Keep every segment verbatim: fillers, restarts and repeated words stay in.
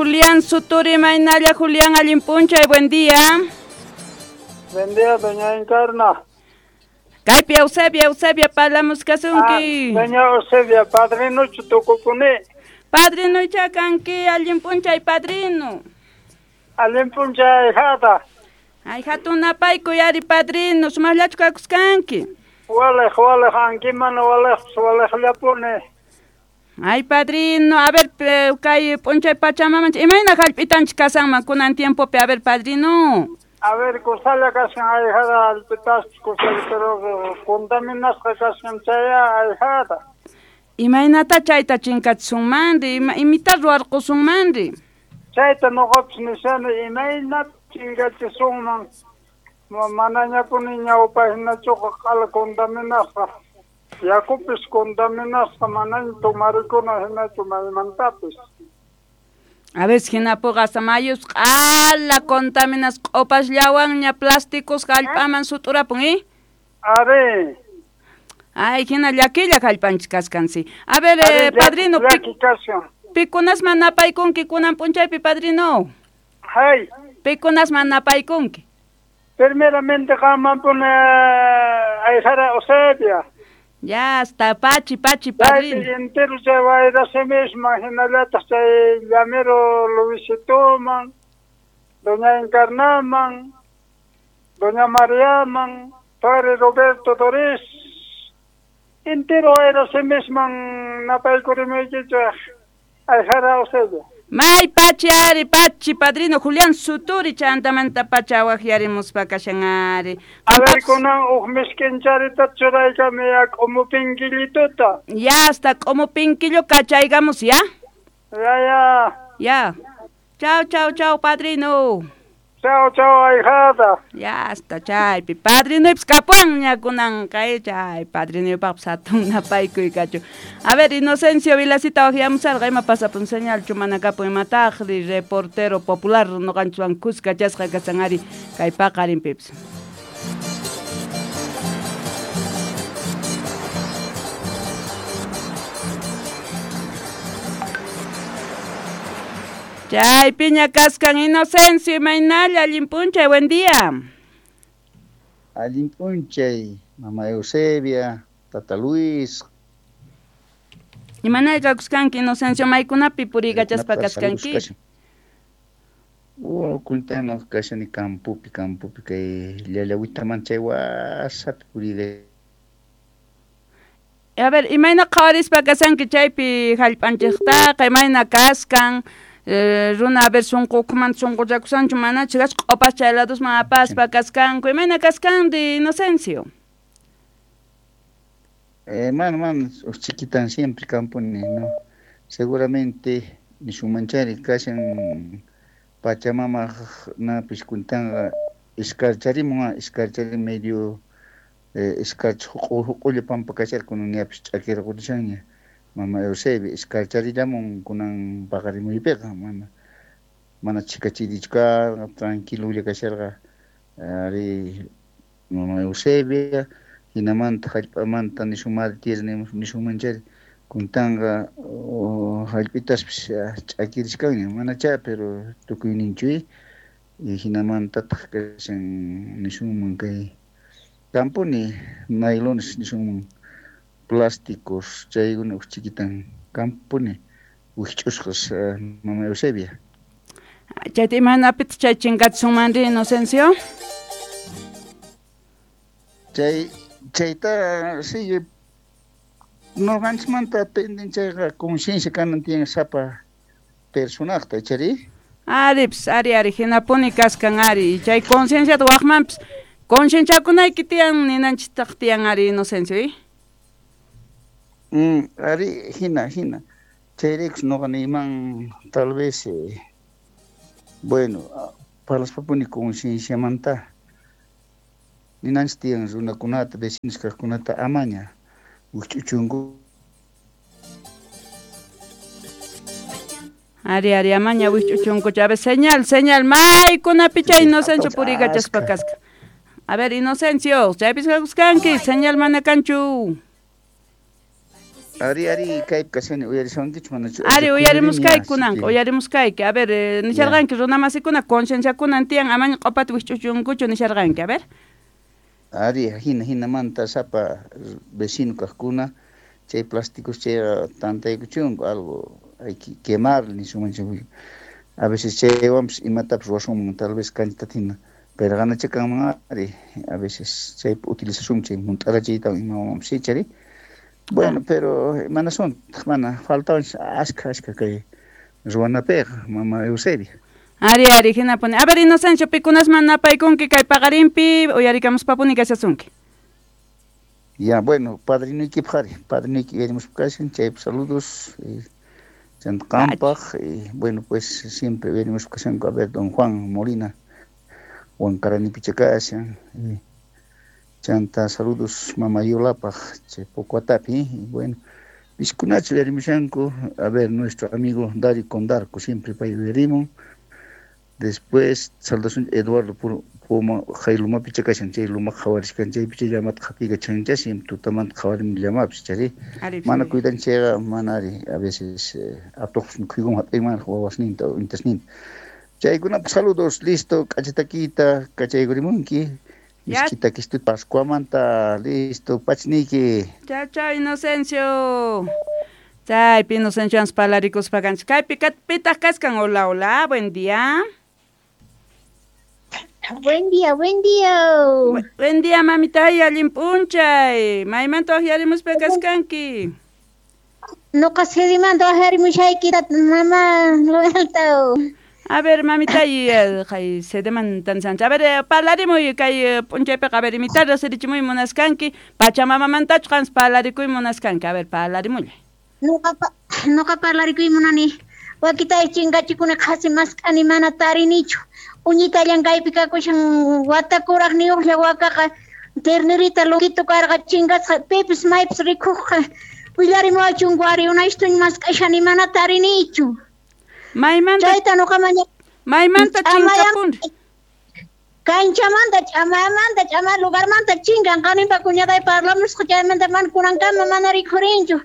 Julián Suturi, Mainalla, Julián, allin p'unchay, buen día. Buen día, doña Encarna. Kaypi Eusebia, Eusebia, parlamuskasunki. Ah, doña Eusebia, padrinochu tukupuni. Padrinoycha kanki, allin p'unchay, padrino. Allin p'unchay, ahijada. Ay, hatun napaykuy ari, padrino, sumaqllachu kakuskanki. Walej, walej, ankiman walej, walejllapuni. Ay, padrino, a ver, kay p'unchay pachamamanchik, imayna hallp'itanchik kasanman kunan tiempopi, a ver, padrino. A ver, kusalla kashan ahijada, hallp'itaspis kusalla, pero contaminasqa kashan chaya ahijada. Imaynata chayta chinkachisunmanri, ima, imita ruwarqusunmanri. Chayta nuqapis nishani, imayna chinkachisunman, manañapuni ñawpahinachuqa q'ala contaminasqa. Yakupis contaminasqa manaña tomarikuna hinachu maymantapis. A ver, hinapuqa hasta mayus q'ala contaminasqa q'upasllawanña plásticos hallp'aman sut'urapun, ¿eh? Ari. Ay, hina llakilla hallp'anchik kaskan, sí. A ver, eh, padrino, llaki kashan. Pikunasman napaykunki kunan p'unchaypi, padrino? Hay. Pikunasman napaykunki? Primeramente qammanpuni ahijada Eusebia. Ya está, pachi, pachi, padrino. Chaypi entero chay wayrasimisman, hinallataq chay llamero Luisitoman, doña Encarnaman, doña Mariaman, padre Roberto Doris, entero wayrasimisman napaykurimuykichik ahijada Eusebia. May pachi ari, pachi, padrino Julián Suturi, chantamanta pacha waqyarimuspa kashan ari. A ver, kunan uj miskincharita churaykami ya k'umupinkillituta. Ya, hasta k'umupinkillo kachaygamos, ¿ya? Ya, ya. Ya. Chao, chao, chao, padrino. Chao, chao, ahijada. Ya, hasta chaypi. Padrinoypis kapuanña kunanqa, eh, chay padrinoypaqpis hatun napaykuy kachu. A ver, Inocencio Vilacita waqyamusarqa, ima pasapun señalchu mana kapun imataqri, reportero popular nuqanchikwan kuska chasqa kasan ari kay paqarinpipis. Chaypiña kaskan Inocencio, imaynalla, allin p'unchay, buen día. Allin p'unchay, mama Eusebia, tata Luis. Imanalla kakuskanki, Inocencio, maykunapi puriykachaspa kaskanki? Oh, kuntana kashani campopi, campopi kay llallawitaman chay wasapi puriyka. A ver, imayna qhawarispa kasanki chaypi hallp'anchiktaqa, imayna kaskan? Eh, runa, a ver, sunqukuman sunquchakusanchu manachu kasqa q'upas chay ladosman apaspa kaskanku, imayna kaskanri, Inocencio? Eh, mano, mano, chiquitan siempre camponi, ¿no? Seguramente nishunmanchari kashan Pachamama napis kuntanqa iskarcharimun, iskarchari medio eh, iskarch huq'ulla pampa kasharqa kunan ñapis ch'akirqurishanña. Mama Eusebia iskarcharillamun kunan paqarimuypiqa mana mana chikachirichu karqa, tranquilolla kasharqa ari mama Eusebia, hinamanta hallp'amanta nishun tierra nishunmanchari kuntanqa hallp'itaspis ch'akirishkanña manachá, pero tukuyninchuy hinamantataq kashan nishunman kay kampuni naylones nishunman plásticos chaykuna uj chiquitan kampuni wikch'usqas mama Eusebia. Chayta imaynapitaq chay chinkachisunmanri, Inocencio? Chay chayta sí nuqanchikmanta atenden chayqa conciencia kanan tiyan sapa personajta, chari? Aripis, ari, ari, hinapuni kaskan ari, chay concienciata waqmanpis concienciakunayki tiyan ninanchiktaq tiyan ari, Inocencio, eh? Mm, ari, hina, hina. Chayraykus nuqa niyman tal vez, eh, bueno, parlaspapuni concienciamanta ninanchik tiyan runakunata, vecinos kaqkunata amaña wikch'uchunku. Ari, ari, amaña wikch'uchunku. A ver, señal, señal, maykunapi chay Inocencio puriykachaspa kasqa. A ver, Inocencio, chaypis kakuskanki, señal mana kanchu. Ari, ari, kaypi kashani uyarisunkichu manachu? Ari, uyarimuskayki kunanqa, uyarimuskayki. A ver, eh, nisharqanki runamasikuna concienciakunan tiyan amaña q'opata wikch'uchunkuchu nisharqanki, a ver. Ari, hina hinamanta sapa vecino kaqkuna chay plásticos chayqa tantaykuchunku algo hay que quemar nisunman a veces chaywanpis imatapas ruwasunman tal vez kanchitata hina pero ganacha kanman ari a veces chaypi utilizasun chay hunt'arachiytawan imawanpis ichari. Bueno, pero mana suntaq mana faltawanchis ashka ashka kay ruwanapiqa mama Eusebia. Ari, ari, hinapuni. A ver, Inocencio, pikunasman napaykunki kay paqarinpi uyarikamuspapuni kashasunki. Ya, bueno, padrinoykipaq ari, padrinoyki uyarimuspa kashan, chaypi saludos, eh, chanta qampaq, eh, bueno, pues siempre uyarimuspa kashanku, a ver, don Juan Molina, Huancaranipicha kashan, eh, chanta saludos mama Yolapaq, chay Pocuatapi, y bueno, piskunachu uyarimushanku, a ver, nuestro amigo Dario Condarco, siempre pay uyarimun. Después, saludos Eduardo Puma, Jailumapi kashan, chay luma qhawarishkan, chaypi chay llamata qhapiykachancha, siempre tutamanta qhawarin llamapis, chari. Mana cuidan chayqa, mana ari, a veces atuqpis mikhuykunman hap'inman wawasninta o intasninta. Chaykunapaq saludos, listo, k'achatakita, kachaykurimunki. Miskita kistu Pascuamanta, listo, pachniyki. Chao, chao, Inocencio. Chaypi Inocencio parlarikuspa kanchik. Kaypi pitaq kaskan? Hola, hola, buen día. Buen día, buen día. Bu buen día, mamita, allin p'unchay. Maymanta waqyarimuspa kaskanki? Nuqa sedimanta waqyarimushayki, mama Loelta. A ver, mamita, kay sedemanta nisanchik. A ver, parlarimuy kay p'unchaypiqa, a ver, imitata riqsirichimuy munaskanki, Pachamamamantachu qanpas parlarikuy munaskanki. A ver, parlarimullay. Nuqa nuqa parlarikuy munani. Wakitay chinkachikuna qhasi mask'ani mana tarinichu. Uñitallan kaypi kakushan watakuraqniyuqlla wakaqa ternerita loquito karqa chinkasqa pipis maypis rikuqqa willarimuwachunku ari unaystuñ mask'ashani mana tarinichu. Maymanta chayta nuqa maña maymanta chinkapun kanchamanta ch'amayamanta ch'amay lugarmanta chinkan qaninpa cuñaday parlamusqa chaymanta mana kunankama mana rikhurinchu.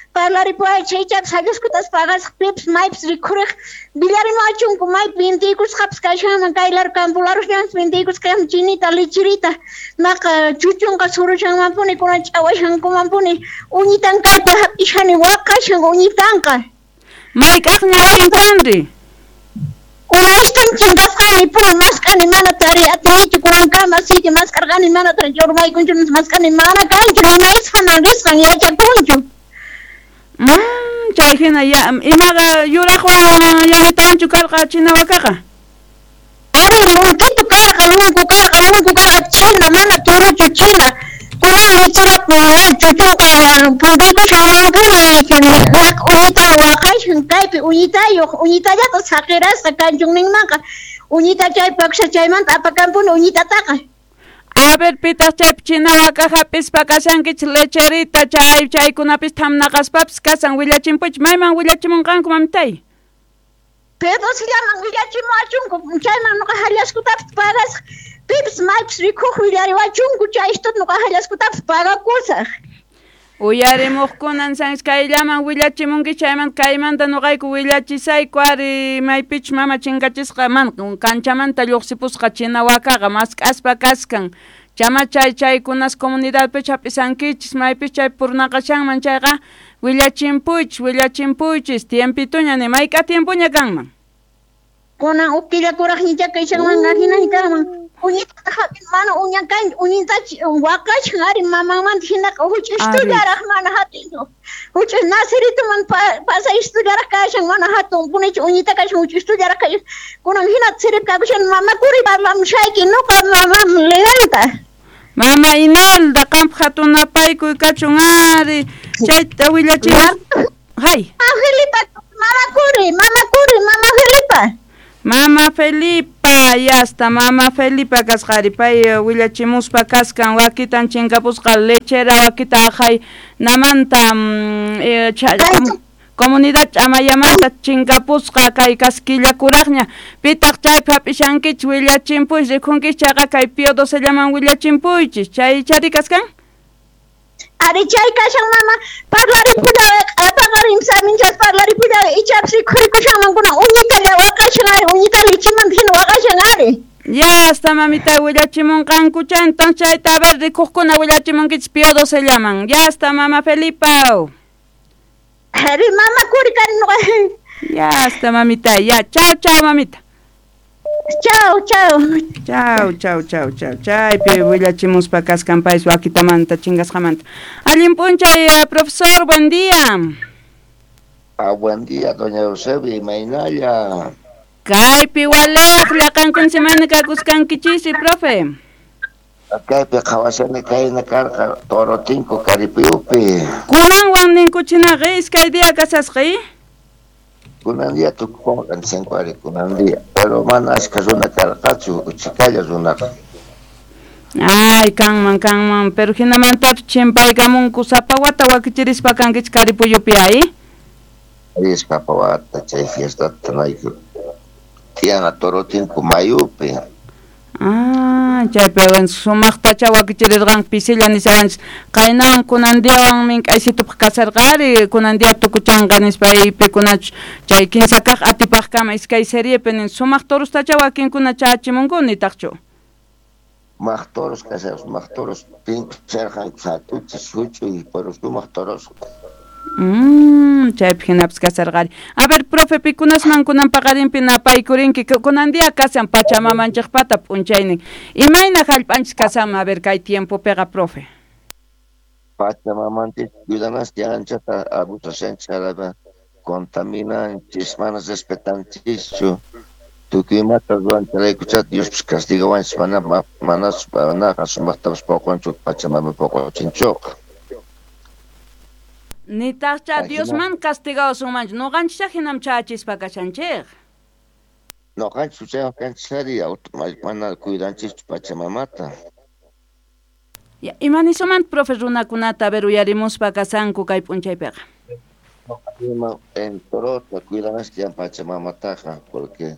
Parlaripuway chaychapis hallaskutas pagasaq pipis maypis rikhuriq willarimuwachunku maypi vintiykusqapis kashanman kay laro campolarusllamanpis vintiykusqa chinita lichirita maqa chuchunqa surushanmanpuni kunan ch'awashankumanpuni uñitan kaypi hap'ishani waqashan uñitanqa. Mayk'aqña chinkanri? Unaystuñ chinkasqani puni mask'ani mana tariy atinichu kunankama así que mask'arqani mana tarichu urmaykunchu mask'ani mana kanchu nimaysqaman risqan yachakunchu. Mm, chay hina ya imaqa yuraqwan yanitawanchu karqa china wakaqa? Ari lunkitu karqa, lunku karqa, lunku karqa china, mana turuchu china. Kunan lichirap chuchunqa punkuykushanmanpuni uñita waqashan kaypi uñitayuq uñitallata saqirasqa kanchunninmanqa uñita chaypi akusha chaymanta apakanpuni uñitataqa. A ver, pitaq chaypi china waka hap'ispa kashankichik lecherita chay chaykunapis thamnaqaspapis kasan willachimpuchik. Mayman willachimunqanku mamitay? Pedosillaman willachimuwachunku chayman nuqa hallaskutapis pagasaq pipis maypis rikuq willariwachunku chaystuta nuqa hallaskutapis pagakusaq. Uyarimuqkunan sanchis kayllaman willachimunki chaymanta kaymanta nuqayku willachisayku ari maypichus mama chinkachisqa man kanchamanta lluqsipusqa china wakaqa mask'aspa kaskan. Chama chay chaykunas comunidadpi hap'isankichis maypis chay purnaqashanman chayqa willachimpuychis willachimpuychis tiempituña ni mayk'a tiempuña kanman. Kunan huk killa kuraqñicha kashanman hinaña kanman. Uñita hap'in mana uña kan uñita waqashan ari mamanmanta hinaqa huch'istullaraq mana hatinchu. Huch'is nasirituman pasayistullaraq kashan mana hatun punichu uñita kashan huch'istullaraq kashan. Kunan hina sirip kakushan mama kuri parlamushayki nuqa mama Leanta. Mama Imelda qampaq hatun napaykuy kachun ari chayta willachimus. Hay. Mama Felipa, mama kuri, mama kuri, mama Felipa. Mama Felipa, yasta, mama Felipa kasqari pay willachimuspa kaskan wakitan chinkapusqa lechera wakita aqhay namanta eh, comunidad ch'amayamanta chinkapusqa kay kaskilla kuraqña pitaq chaypi hap'ishankichik willachimpuychis rikhunkichik chayqa kay Pío docellaman willachimpuychis chay chari kaskan. Ari chay kashan mama parlaripulaway paqarin saminchas parlaripulaway ichapis rikhurikushanman kunan uñitalla waqashan ari uñita lichimanta hina waqashan ari. Ya hasta mamita willachimunqankucha entonces chayta a ver rikuqkuna willachimunkichis Pío doce llaman. Ya hasta mama Felipa. Ari mama kuri kani nuqa. Ya hasta mamita, ya chao chao mamita. Chao, chao. Chao, chao, chao, chao. Chaypi willachimuspa kaskan payis wakitamanta chingasqamanta. Allin p'unchay, profesor, buen día. Ah, buen día, doña Eusebia, imaynalla. Kaypi waliqlla qankuna semana kakuskankichisi, profe. Kaypi qhawashani kayna karqa Torotinku Karipuyupi. Kunanwan ninkuchinaqa iskay día kasasqa, Kunan día tukukunqa cinco ari kunan día, pero mana ashka runa karqachu, uchikalla runaqa. Ay, kanman, kanman, pero hinamantapis chimpaykamunku sapa wata wakichirispa kankichik Karipuyupi ay. Ay, sapa wata chay fiestata nayku tiyana Torotinku mayupi. Ah, chaypi sumaqtacha wakichirirqanku pisilla nishawanchis qaynawan kunan diawan mink'aysitupaq kasarqari kunan dia tukuchanqa nispa aypikunachus chay kinsa kaq atipaqkama iskay seriepi nin sumaq torostacha wakinkuna chachimunku nitaqchu. Sumaq toros kashan sumaq toros pinkusharqanku hatuchis huch'uy pero sumaq toros. Mm, chaypi hinapis kasarqari. A ver, profe, pikunasman kunan paqarinpi napaykurinki kunan día kasan pachamamanchikpata p'unchaynin. Imayna hallp'anchis kasanman a ver kay tiempopiqa, profe? Pachamamanchis cuidanas anchata abusashanchis haraqa contaminanchis mana respetanchischu tukuy imata ruwanchiraykucha Diospis castigawanchis mana manas manaqa sumaqtapas poqonchu pachamama poqochinchuqa. Nitaqcha Diosman castigawasunmanchu nuqanchis hinam chachispa kashanchik. Nuqanchis huchayuq kanchis ari mana cuidanchischu pachamamata. Ya, imanisuman profe runakunata a ver uyarimuspa kasanku kay p'unchaypiqa. Ima en torota cuidananchis tiyan pachamamataqa porque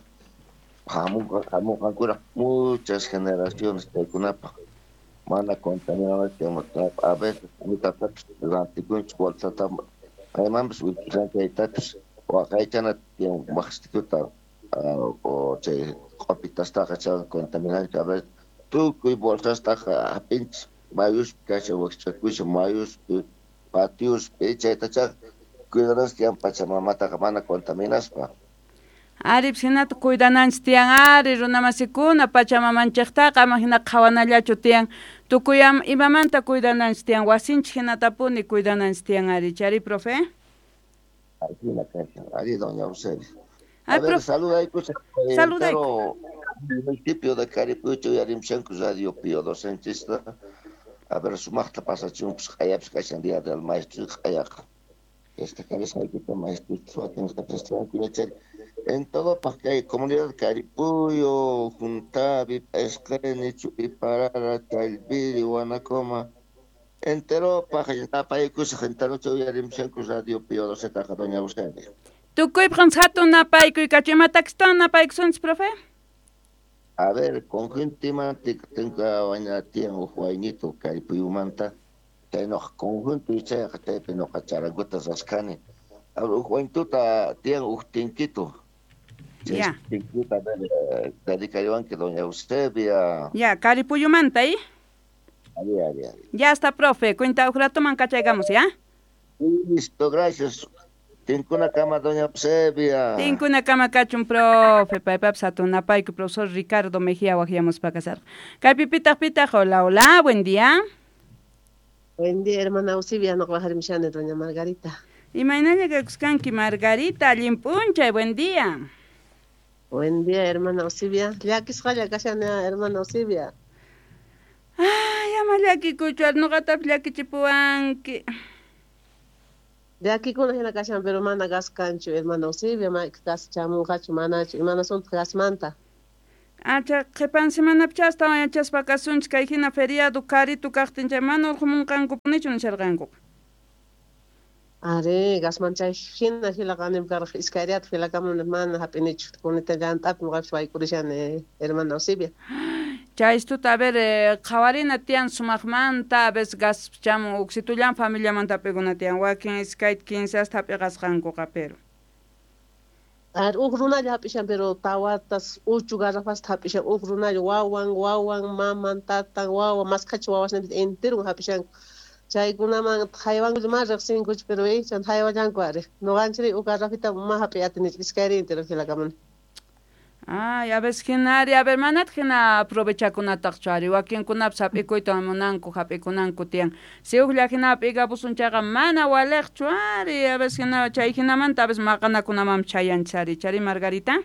hamunqa hamunqankuna muchas generaciones chaykunapaq. Mana contaminanchis a veces mitatapas rantikunchis bolsata maymanpas chaytapis waqaychana tiyan waqsituta o chay q'opitastaqa chay contaminanchis a veces tukuy bolsastaqa hap'inchis mayuspi kashan waqchakushan mayuspi patiospi chaytacha cuidananchis tiyan pachamamataqa mana contaminaspa. Ari, hinata cuidananchis tiyan ari runamasikuna pachamamanchiktaqa ama hina qhawanallachu tiyan tukuy imamanta cuidananchis tiyan wasinchik hinatapuni cuidananchis tiyan ari chari profe. Ajina kashan ari doña Eusebia. A ver, saludaykus saludayku municipio de Caripucho uyarimshanku Radio Pío docenchista a ver sumaqta pasachunpis q'ayapis kashan día del maestro q'ayaqa esta cabeza maestro wakinqa yachari en todo kay comunidad Caripuyo, Juntavi, Esqeni, Chupiparara, Chalviri, Guanacoma, entero napaykusaq enterocha uyarimshanku Radio Pío docetaqa doña Eusebia. Tukuypaq hatun napaykuy kachu imatakistawan napaykusunchis profe? A ver, conjunto tengo waña tiyan huk waynito Caripuyumanta chay noqa conjunto chayqa chaypi noqa charanguta raskhani. A ver, huk waynituta tiyan huk tinkito. Ya. Tinquita, a ver, dedicariwanki doña Eusebia. Ya, Caripuyumanta, ¿eh? Ari, ari, ari. Ya está, profe. Cuenta huk ratoman kachaykamos, ¿ya? Listo, gracias. Tinkuna kama, doña Eusebia. Tinkuna kama kachun, profe. Paypapis hatun napayku, profesor Ricardo Mejía waqyamuspa kasarqa. Kaypi pitaq pitaq, hola, hola, buen día. Buen día, hermana Eusebia, noqa waqarimshani, doña Margarita. Imaynalla kakuskanki, Margarita, allin p'unchay, buen día. Buen día, hermana Eusebia. Llakisqalla kashani, hermana Eusebia. Ay, ama llakikuychu, nuqatapis llakichipuwanki. Llakikuna hina kashan, pero mana gas kanchu, hermana Eusebia, gas chamunqachu, manachu, imanasunta gasmanta. Acha, qhipan semanapicha astawan yachaspa kasunchik kay hina feriado karitu kaqtin chay mana urqumunqankupunichu nisharqankuqa. Ari, gasman chay hina hilaqanim karqa iskayriyata hilakamuni mana hap'inichu kunita llant'api nuqapis waykurishani, hermana Eusebia. Chaystuta a ver eh, qhawarina tiyan sumaqmanta a veces gas chamun uksitullan familiamanta hap'ikuna tiyan wakin iskayta kinsasta hap'iqasqankuqa pero Ar huk runalla hap'ishan pero tawatas uchu garrafasta hap'ishan huk runalla wawan wawan maman tatan wawa maskhacha wawasninpis enterun hap'ishanku chaykunaman haywankulla mana riqsinkuchu pero eh chan haywallanku ari nuqanchik huk garrafita ma hap'iy atinichu iskayri entero hilakamuni. Ay, a veces hinari, a ver, manataq hina aprovechakunataqchu ari, wakinkunapas hap'ikuyta munanku, hap'ikunanku tiyan. Si huklla hina hap'ikapusun chayqa mana waliqchu ari, a veces hina chay hinamanta a veces maqanakunamanmi chayanchis ari, chari Margarita?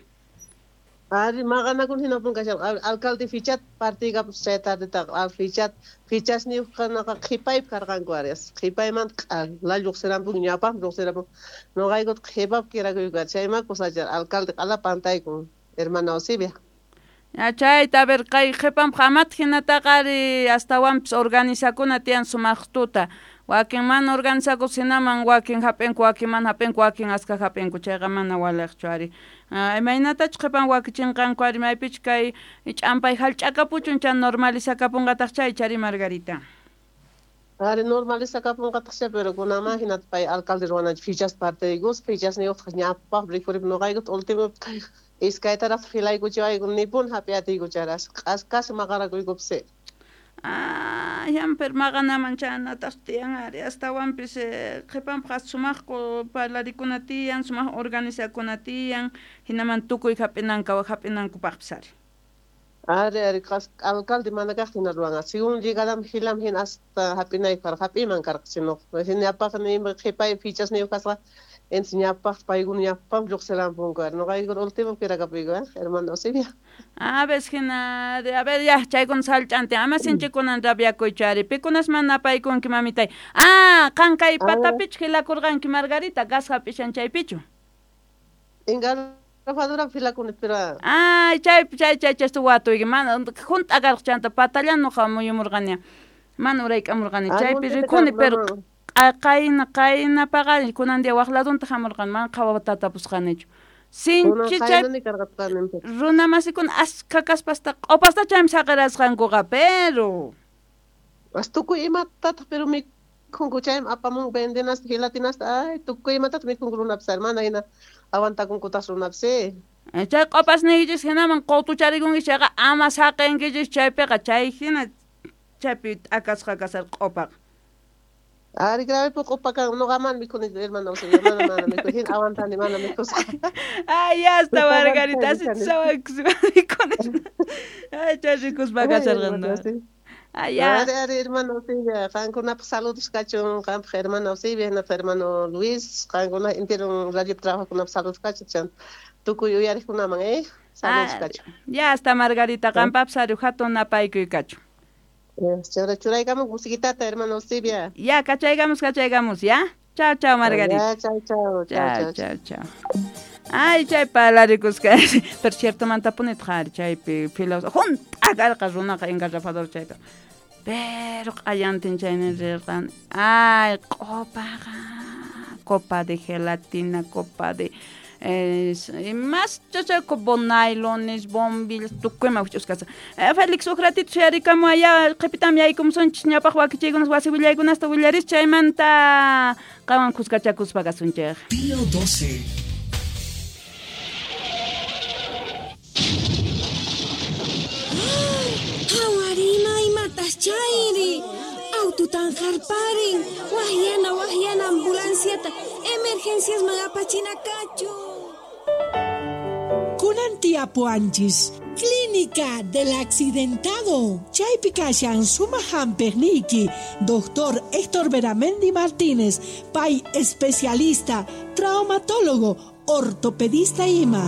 Ari maqanakuna hinapun kashan, alcalde fichat partiykapush chay tardetaqa, al fichat fichasniyuqkunaqa qhipaypi karqanku ari, qhipaymanta q'ala lluqsirampun ñawpaqmi lluqsirampun, nuqaykuta qhipapi kirakuyku ari, chayma kusachar alcalde q'ala pantaykun. Hermana Eusebia. Ya chayta a ver kay qhipanpaq amata hinataqa ari astawanpis organizakuna tiyan sumaqtuta wakin mana organizakus hinaman wakin hap'inku wakin mana hap'inku wakin aska hap'inku chayqa mana waliqchu ari. Imaynatachu qhipan wakichinqanku ari maypichu kay ch'ampay hallch'akapuchun chay normalizakapunqataq chay chari Margarita. Ari normalizakapunqataq pero kunanman hinata pay alcalde ruwananchik fichas partiykus fichasniyuqtaq ñawpaq rikhurip nuqaykuta último iskaytaraq filaykuchiwayku nipun hap'iyatiyku charas q'asqas maqarakuykupas. Ah, yan pero maqanaman chanataq tiyan ari astawanpis qhipanpaq sumaqku parlarikuna tiyan sumaq organizakuna tiyan hinaman tukuy hap'inanka hap'inankupaqpis ari. Ari ari qas alcalde mana kaqtin hina ruwanqa según llegadam hilam hin hasta hap'inaypaq karqa hap'iyman karqa sino hinapaq nima qhipay fichasniyuq kasqa entonces ñawpaq paykuna ñawpaqmi lluqsirampunku ari nuqaykuna último kirakapuyku hermana Eusebia. A veces hina a ver ya chaykuna sallch'antin ama sinchikunan rabiakuychu ari pikunas mana apaykunki mamitay. Ah, qan kay patapichu hilakurqanki Margarita gas hap'ishan chaypichu. Engarrafadura filakuni pero ay chaypi chay chay chaysta watuyki mana hunt'a karqa chanta patallan nuqa muyumurqani mana urayk'amurqani chaypi rikuni pero qayna qayna paqarin kunan día waq ladunta hamurqani mana qhawata tapusqanichu sinchi chay runa masikuna askha kaspasta q'upasta chaymi saqirasqankuqa pero as tukuy imatataq pero mikhunku chaymi apamunku vendenasta gelatinasta ay tukuy imatataq mikhunku runapis mana hina aguantakunkutaq runapis. Chay q'upasniykichis hinaman qutucharikunki chayqa ama saqinkichis chaypiqa chay hina chaypi t'akasqa kasar q'upaqa. Ari grave poco q'upa kan nuqaman mikhuni hermana Eusebia mana mana mikhuni hin aguantani mana mikhusqa. Ay ya hasta Margarita mikhuni. Ay chay rikuspa kasharqan. Ay ya. Ari ari hermana Eusebia qankunapaq saludos kachun qanpaq hermana Eusebia hinapaq hermano Luis qankuna entero radio trabajokunapaq saludos kachun chan tukuy uyariqkunaman eh saludos kachun. Ya hasta Margarita qanpapis ari hatun napaykuy kachun. Chura churaykamos musiquitata hermano Eusebia. Ya, cachaygamos, cachaygamos, ya. Chao, chao, Margarita. Ya, chao, chao, chao, chao, chao. Ay, chay palarikusqa. Pero cierto mantapuni tqari chaypi filos hunt'a karqa runaqa engarrafador chaypi. Pero q'ayantin chaynin rirqani. Ay, q'upaqa. Copa de gelatina, copa de Eh, más chachaco bonailones, bombillas, tukuyma huch'usqasa. Eh, Félix huk ratito shuyarikamu allá qhipitam yaykumusonchis ñawpaq wakichiykunas wasi willaykunasta willaris chaymanta qanwan kuskachakuspa kasunchik. Pío doce. Qhawarina imatas chayri aututan harparin wahyana wahyana ambulanciata emergencias apachina kachu. Kunan tiapuanchis, Clínica del Accidentado. Chaypi kashan suma hampiqniyki, doctor Héctor Beramendi Martínez, pay especialista, traumatólogo, ortopedista ima.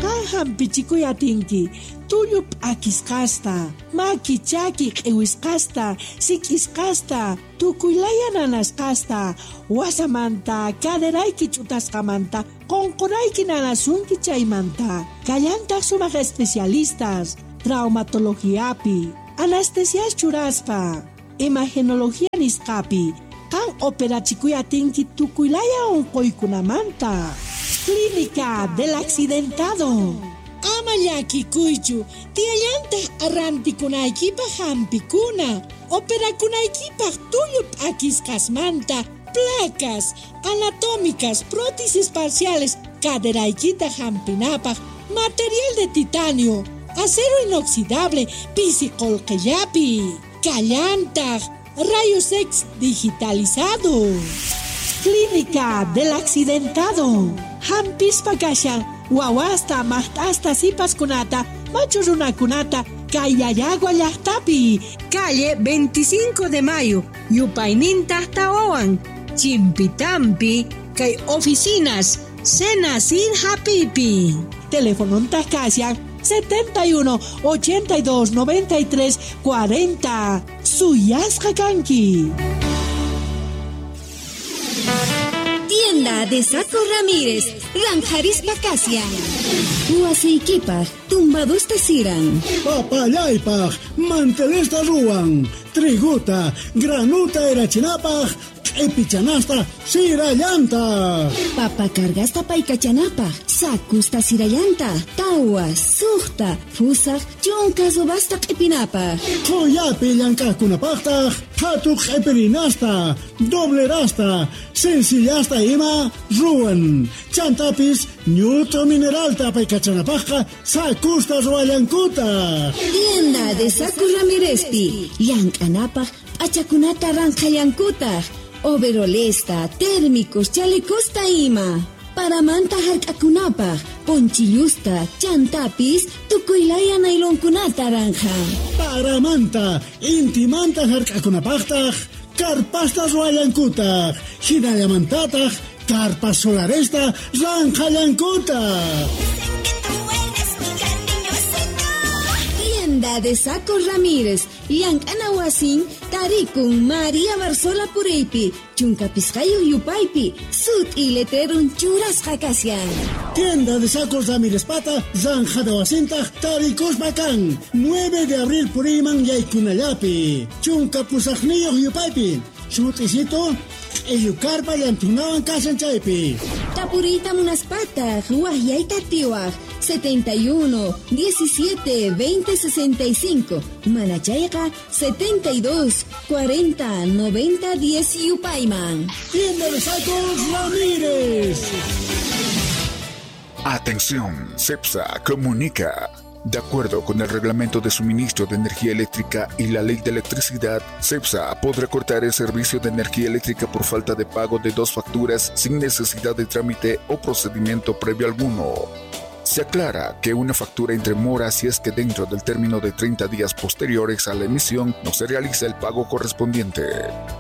Qan hampichikuy atinki, tullu p'akisqasta, maki chaki q'iwisqasta, sik'isqasta, tukuylaya nanasqasta, wasamanta, caderayki ch'utasqamanta, qunqurayki nanasunki chaymanta. Kallantaq sumaq especialistas, traumatologiapi, anestesias churaspa, imagenología nisqapi, qan operachikuy atinki tukuylaya unquykunamanta. Clínica del Accidentado. Ama llakikuychu, tiyallantaq rantikunaykipaq hampikuna, operakunaykipaq tullu p'akisqasmanta, placas anatómicas, prótesis parciales, caderaykita hampinapaq, material de titanio, acero inoxidable, pisi qullqillapi, kallantaq, rayos X digitalizado. Clínica del Accidentado. Hampispa kashan, wawasta, maqt'asta, sipaskunata, machu runakunata, Kayayagua llaqtapi, calle veinticinco de Mayo, yupayninta tawawan, Chimpitampi, kay oficinas, Cena sin Hapipi. Teléfono kashan setenta y uno, ochenta y dos, noventa y tres, cuarenta. Suyasqa kanki. Tienda de Saco Ramírez, Ranjarispa Casia. Huaseikipaj, tumbadusta siran. Papallaypaj, mantelesta ruwan. Triguta, granuta erachinapaj, q'ipichanasta sirallanta. Papa cargasta paykachanapaj, sakusta sirallanta, tawa, suqta, fusaj, chunka subasta q'ipinapaj. Qhuyapi llank'aqkunapaqtaq, qhatu q'ipirinasta, doblerasta, sencillasta ima ruwan. Chantapis ñut'u mineralta paykachanapajqa sakusta ruwallankuta. Tienda de Saco Ramírezpi, llank'anapaj p'achakunata ranqhallankutaq. Overolesta, térmicos, chalecosta ima. Paramanta hark'akunapaj, ponchillusta, chantapis, tukuylaya nailonkunata ranja. Paramanta, intimanta hark'akunapajtaj, karpasta ruwallankutaq, hinallamantataq, karpas solaresta ranqhallankutaq. Tienda de Saco Ramírez, llank'ana wasin, tarikun María Barzola Puriypi, chunka pisqayuq yupaypi, sut'i letrerun churasqa kashan. Tienda de Sacos Ramírez pata, zanjada wasintaq tarikuspa kan, nueve de abril puriyman yaykunallapi, chunka pusaqniyuq yupaypi, sut'isito, q'illukarpa llantunawan kashan chaypi. Tapuriyta munaspataq, waqyayta atiwaq, setenta y uno, diecisiete, veinte, sesenta y cinco, manachayqa setenta y dos, cuarenta, noventa, diez yupayman. Tienda de Sacos Ramírez. Atención, CEPSA comunica. De acuerdo con el Reglamento de Suministro de Energía Eléctrica y la Ley de Electricidad, CEPSA podrá cortar el servicio de energía eléctrica por falta de pago de dos facturas sin necesidad de trámite o procedimiento previo alguno. Se aclara que una factura entre mora si es que dentro del término de treinta días posteriores a la emisión no se realiza el pago correspondiente.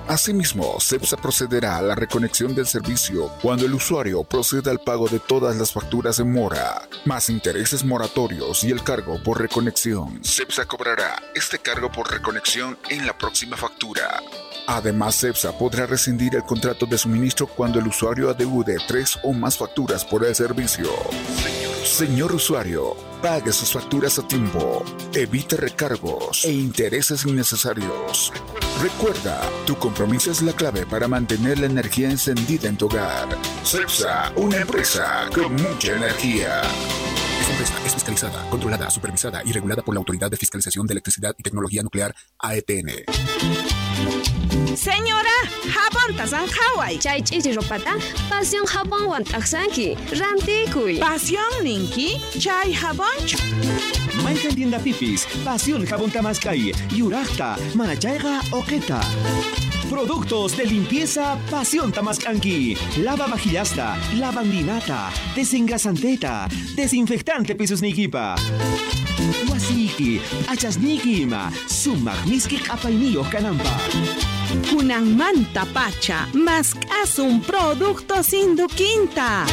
Asimismo, CEPSA procederá a la reconexión del servicio cuando el usuario proceda al pago de todas las facturas en mora, más intereses moratorios y el cargo por reconexión. CEPSA cobrará este cargo por reconexión en la próxima factura. Además, CEPSA podrá rescindir el contrato de suministro cuando el usuario adeude tres o más facturas por el servicio. Señor usuario, pague sus facturas a tiempo, evite recargos e intereses innecesarios. Recuerda, tu compromiso es la clave para mantener la energía encendida en tu hogar. CEPSA, una empresa con mucha energía. Esta empresa es fiscalizada, controlada, supervisada y regulada por la Autoridad de Fiscalización de Electricidad y Tecnología Nuclear, A E T N. Señora, jabonta zanjaway. Chay ch'ichi ropata, pasión jabonwan t'aqsanki, rantikuy. Pasión ninki, chay jabonchu. Mayqan tienda pipis, pasión jabón tamaskay, yuraqta, manachayqa oqeta. Productos de limpieza Pasión Tamascanqui. Lava vajillasta, lavandinata, desengrasanteta, desinfectante pisos nikipa. Wasiki, achasniki ima, sumaq miski q'apayniyuq kananpaq. Kunanmanta pacha, mask'asun productos Induquinta.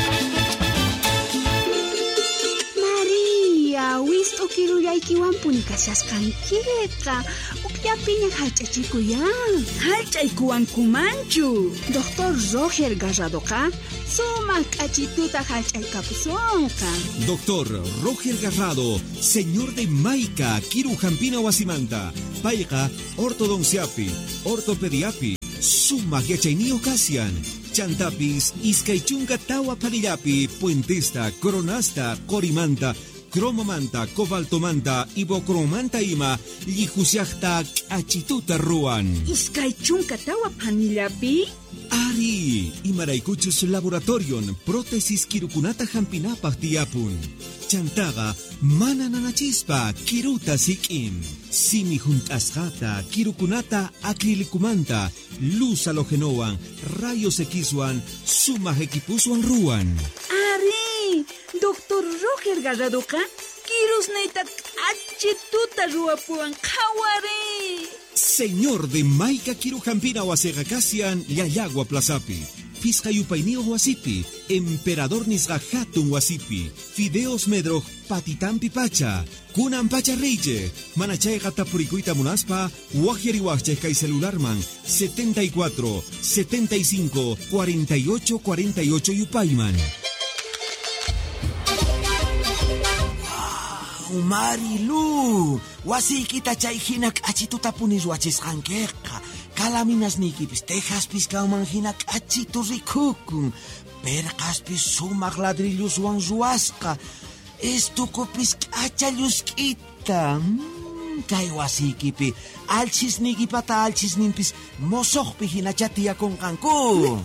María, wist'u kirullaykiwanpuni kashasqankiqa. Ukllapiña hallch'achikuyan. Hallch'aykuwankumanchu. Doctor Roger Garradoqa sumaq k'achituta hallch'aykapusunqa. Doctor Roger Garrado, señor de Maica, Kiru Jampina Wasimanta, Payqa, ortodonciapi, ortopediapi, sumaq yachayniyuq kashan. Chantapis, iskay chunka tawa parillapi, puentesta, coronasta, corimanta, Cromomanta, cobaltomanta, ibocromanta ima llihushaqta k'achituta ruwan. Iskay chunka tawa phanillapi? Ari, imaraykuchus laboratorion prótesis kirukunata hampinapaq tiyapun. Chantaqa mana nanachispa kiruta sik'in. Simi hunt'asqata kirukunata acrilicumanta luz halogenowan rayos Xwan sumaq equipuswan ruwan. Ari, doctor Roger Garradoqa kirusniyta k'achituta ruwapuwan qhawari. Señor de Maica Kirujampina wasiqa kashan Llallagua Plazapi, Pisqa yupayniyuq wasipi, Emperador nisqa hatun wasipi, Fideos Medroj patitampi pacha, kunan pacha riychej, mana chayqa tapurikuyta munaspa, waqyariwaqchej kay celularman setenta y cuatro, setenta y cinco, cuarenta y ocho, cuarenta y ocho yupayman. Marilu, wasiykita chay hina k'achituta puni ruwachisqankiqa. Kalaminasniykipis tejaspis kanman hina k'achitu rikukun. Perqaspis sumaq ladrilluswan ruwasqa. Estukupis k'acha llusk'ita. Mm, kay wasiykipi alchisniykipata alchisninpis mosoqpi hinacha tiyakunqanku.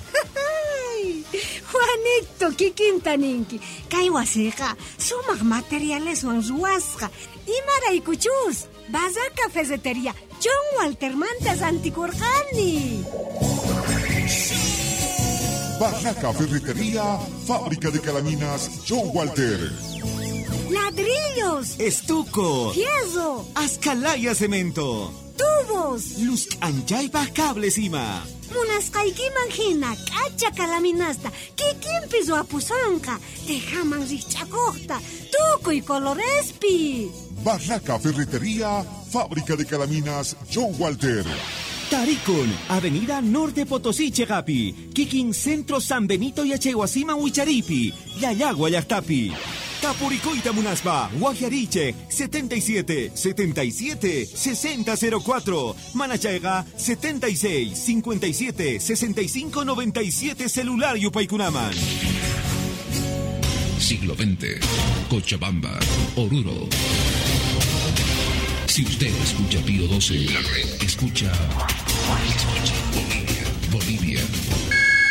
Juanito, kikinta ninki. Kay wasiqa sumaq materialeswan ruwasqa. Imaraykuchus, Barraca Ferretería, John Waltermanta rantikurqani. Barraca Ferretería, fábrica de calaminas John Walter. Ladrillos, estuco, fierro, ascalaya cemento, tubos, luz anchaypaj cables ima. Munasqaykiman hina k'acha kalaminasta kikinpis ruwapusonqa, tejaman rikch'akuqta, tukuy colorespi. Barraca Ferretería, fábrica de calaminas John Walter. Tarikun, Avenida Norte Potosí Chegapi, Kikin Centro San Benito Yachaywasiman Wicharipi, Llallagua llaqtapi. Tapuricoita munaspa, Guajariche, setenta y siete, setenta y siete, sesenta cero cuatro, Manachayga, setenta y seis, cincuenta y siete, sesenta y cinco, noventa y siete, celular Yupaykunaman. Siglo veinte, Cochabamba, Oruro. Si usted escucha Pío doce, la red escucha, escucha Bolivia, Bolivia.